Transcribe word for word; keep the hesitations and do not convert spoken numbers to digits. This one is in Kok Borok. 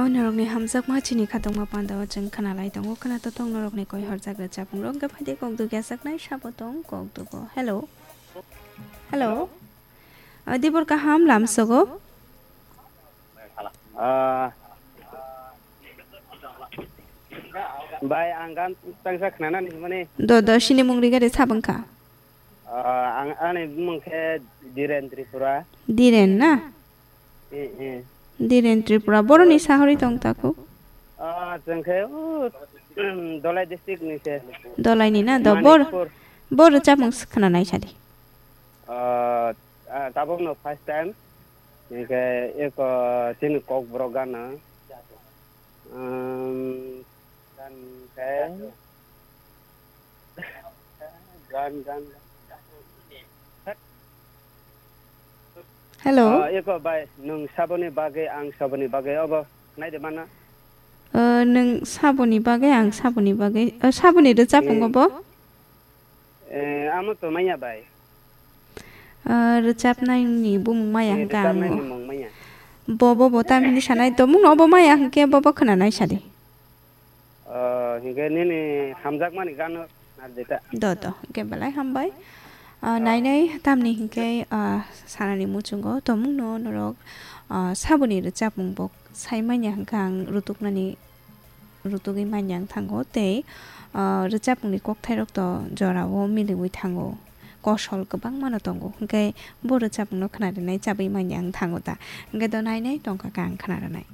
Norokni hamjakma chini khatungma pandao chwng khwnalai tongo, khwnato tong norokni koi horjak rwchapmung rok, hwnkhe phaidi kok dugya saknai sabo tong kok dugo. Hello. Hello. Ah, dibor kaham lamsogo. Ah, bai, ang gan tangsa khwnana hinmani. Do, do, sini mung rigari sabang kha. Ah, ang, ani bumung khe Diren Tripura. Diren na? Eh, eh. Diren Tripura. Boroni sahori tong taku? Ah, chwng khe, uh, Dolai district ni se. Dolai ni na? Do, bor, Manikpur. Bor rwchapmung khwnanai sadi. Ah, ah, tabuk no first time. Hingke eko chini kokborok gana. Um, gan khe. Gan, gan. Hello. Ah, eko bai, nwng saboni bagwi, ang saboni bagwi, obo naide mana? Ah, nwng saboni bagwi, ang saboni bagwi, ah, saboni rwchapmung obo? Eh, amo to manya bai. Ah, rwchapnaini bumung maya Eh, hwnkhe ang rwchapnaini mung manya. Bo, bo, bo tam hini sanai, tomung no bo maya hwnkhe bo, bo khwnanai sadi. Ah, hwnkhe nini hamjakmani gano nardi ta? Do, do, hwnkhe belai hambai. Ah, Ah. Nainai tamni hwnkhe, ah, sanani muchungo tomung no norok, ah, saboni rwchapmung bo sai manya hwnkhe ang rutuknani rutugwi manya wng thango tei, ah, rwchapmungni kokthairok to jorao miliwi thango, kosol kwbangmano tongo, hwnkhe bo rwchapmungno khwna rwnai chabwi manya wng thango ta, hwnkhe do nainai tongkha khe ang khwna rwnai.